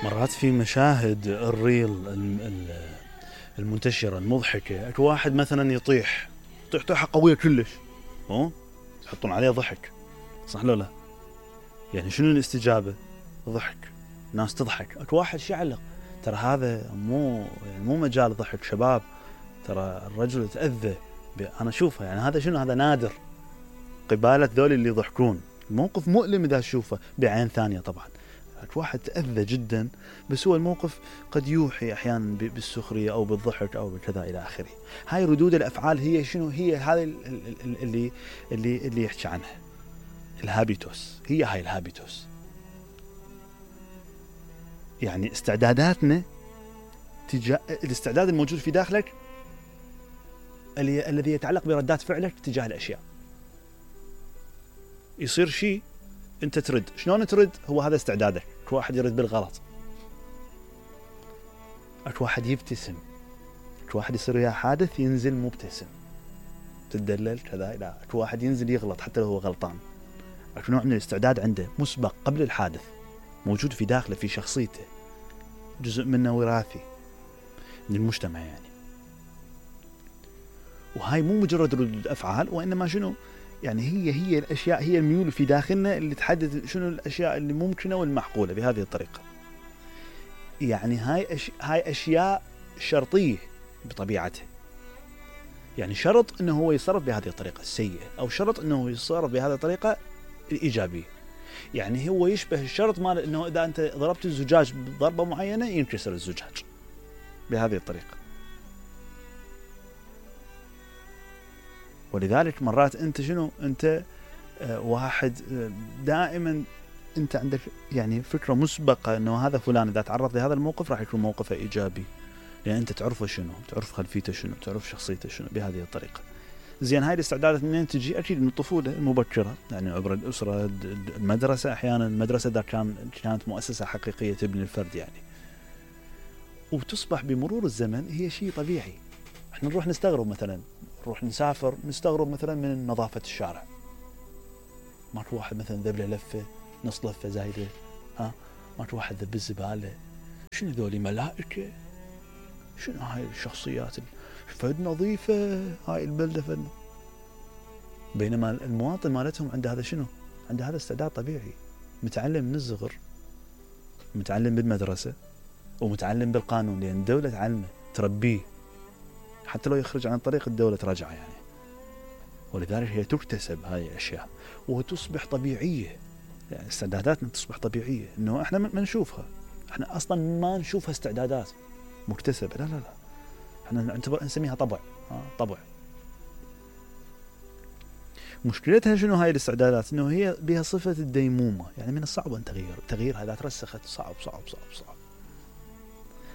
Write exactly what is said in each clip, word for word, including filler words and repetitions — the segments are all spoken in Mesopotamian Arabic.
مرات في مشاهد الريل المنتشرة المضحكة، اكو واحد مثلا يطيح يطيح طيحة قوية كلش، ها يحطون عليه ضحك، صح لو لا؟ يعني شنو الاستجابة؟ ضحك، ناس تضحك. اكو واحد شعلق، ترى هذا مو يعني مو مجال ضحك شباب، ترى الرجل تأذى. انا اشوفها يعني هذا شنو، هذا نادر قبالة ذول اللي يضحكون. الموقف مؤلم اذا تشوفه بعين ثانية طبعا. واحد تأذى جدا، بس هو الموقف قد يوحي احيانا بالسخرية او بالضحك او بكذا الى اخره. هاي ردود الافعال هي شنو؟ هي هذه اللي اللي اللي يحكي عنها الهابيتوس. هي هاي الهابيتوس، يعني استعداداتنا تجاه الاستعداد الموجود في داخلك الذي يتعلق بردات فعلك تجاه الاشياء. يصير شيء انت ترد، شلون ترد؟ هو هذا استعدادك. اكو واحد يرد بالغلط، اكو واحد يبتسم، اكو واحد يصير وياه حادث ينزل مبتسم تدلل كذا. لا، اكو واحد ينزل يغلط حتى لو هو غلطان. اكو نوع من الاستعداد عنده مسبق قبل الحادث، موجود في داخله في شخصيته، جزء منه وراثي من المجتمع يعني. وهاي مو مجرد ردود افعال، وانما شنو يعني هي هي الاشياء، هي الميول في داخلنا اللي تحدد شنو الاشياء اللي ممكنه والمعقوله بهذه الطريقه. يعني هاي أش... هاي اشياء شرطيه بطبيعته، يعني شرط انه هو يتصرف بهذه الطريقه السيئه، او شرط انه يتصرف بهذه الطريقه الايجابيه. يعني هو يشبه الشرط مال انه اذا انت ضربت الزجاج بضربه معينه ينكسر الزجاج بهذه الطريقه. ولذلك مرات انت شنو انت آه واحد آه دائما انت عندك يعني فكره مسبقه انه هذا فلان اذا تعرض لهذا الموقف راح يكون موقفه ايجابي، لان يعني انت تعرفه شنو، تعرف خلفيته شنو، تعرف شخصيته شنو بهذه الطريقه. زين، هاي الاستعدادات منين تجي؟ اكيد من الطفوله المبكره، يعني عبر الاسره، المدرسه. احيانا المدرسه اذا كان كانت مؤسسه حقيقيه تبني الفرد يعني، وتصبح بمرور الزمن هي شيء طبيعي. احنا نروح نستغرب مثلا، نروح نسافر نستغرب مثلا من نظافه الشارع. ماكو واحد مثلا ذبله لفه نص لفه زايده، ها ماكو واحد ذب الزباله. شنو ذولي ملائكه؟ شنو هاي الشخصيات فد نظيفه هاي البلده فد. بينما المواطن مالتهم عنده هذا شنو؟ عنده هذا استعداد طبيعي، متعلم من الصغر، متعلم بالمدرسه ومتعلم بالقانون، لان الدوله تعلمه تربيه حتى لو يخرج عن طريق الدوله تراجعه يعني. ولذلك هي تكتسب هاي الاشياء وتصبح طبيعيه. يعني استعداداتنا تصبح طبيعيه، انه احنا ما نشوفها، احنا اصلا ما نشوفها استعدادات مكتسبه، لا لا لا، احنا نعتبر نسميها طبع. ها طبع. مشكلتها شنو هاي الاستعدادات؟ انه هي بها صفه الديمومه، يعني من الصعب ان تغير تغييرها اذا ترسخت، صعب صعب صعب صعب.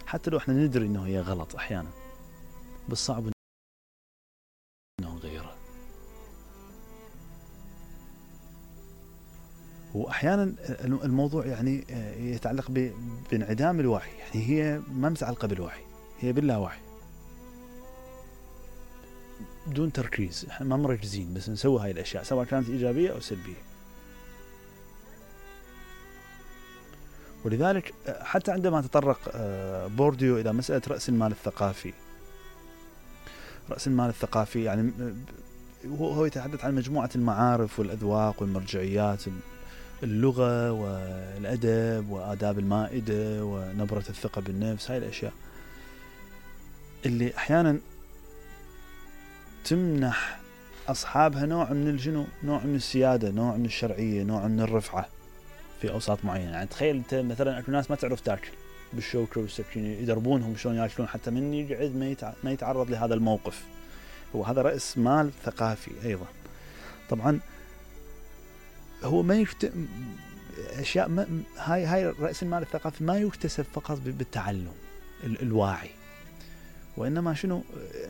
حتى لو احنا ندري انه هي غلط احيانا، بس صعب انه نغيرها. واحيانا الموضوع يعني يتعلق بانعدام الوعي، يعني هي ما متعلقه بالوعي، هي باللاوعي بدون تركيز. احنا ما مركزين بس نسوي هاي الاشياء سواء كانت ايجابيه او سلبيه. ولذلك حتى عندما تطرق بورديو الى مساله راس المال الثقافي، راس المال الثقافي يعني هو يتحدث عن مجموعه المعارف والاذواق والمرجعيات، اللغه والادب واداب المائده ونبره الثقه بالنفس. هاي الاشياء اللي احيانا تمنح اصحابها نوع من الجنو، نوع من السياده، نوع من الشرعيه، نوع من الرفعه في اوساط معينه. يعني تخيل انت مثلا اكو ناس ما تعرف تاكل بالشوكه والسكينه، يدربونهم شلون ياكلون حتى من يقعد ما, ما يتعرض لهذا الموقف. هو هذا راس مال ثقافي ايضا. طبعا هو ما يكت... اشياء ما... هاي هاي راس المال الثقافي ما يكتسب فقط بالتعلم الواعي، وإنما شنو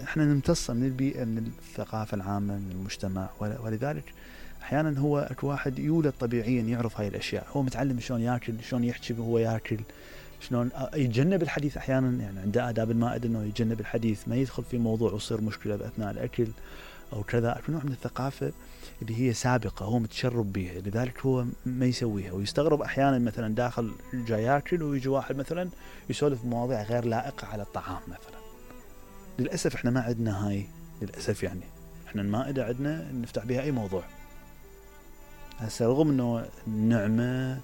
احنا نمتصه من البيئة، من الثقافة العامة، من المجتمع. ولذلك احيانا هو اكو واحد يولد طبيعيا يعرف هاي الاشياء، هو متعلم شلون ياكل، شلون يحكي وهو ياكل، شلون يتجنب الحديث احيانا. يعني عنده آداب المائدة انه يتجنب الحديث، ما يدخل في موضوع ويصير مشكلة باثناء الاكل، أو كذا، أكو نوع من الثقافة اللي هي سابقة هو متشرب بها، لذلك هو ما يسويها. ويستغرب أحيانا مثلا داخل جاي ياكل ويجي واحد مثلا يسولف بمواضيع غير لائقة على الطعام مثلا. للأسف إحنا ما عندنا هاي، للأسف يعني إحنا المائدة عندنا نفتح بها أي موضوع. هسه رغم إنه النعمة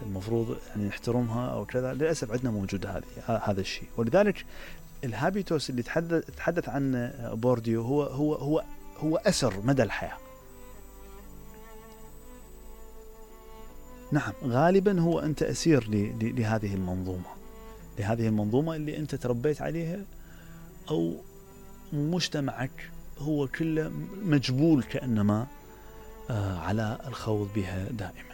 المفروض يعني نحترمها أو كذا، للأسف عندنا موجود هذه هذا الشيء. ولذلك الهابيتوس اللي تحدث تحدث عنه بورديو هو هو هو هو أثر مدى الحياة. نعم غالبا هو أنت أسير لهذه المنظومة، لهذه المنظومة اللي أنت تربيت عليها، أو مجتمعك هو كله مجبول كأنما على الخوض بها دائما.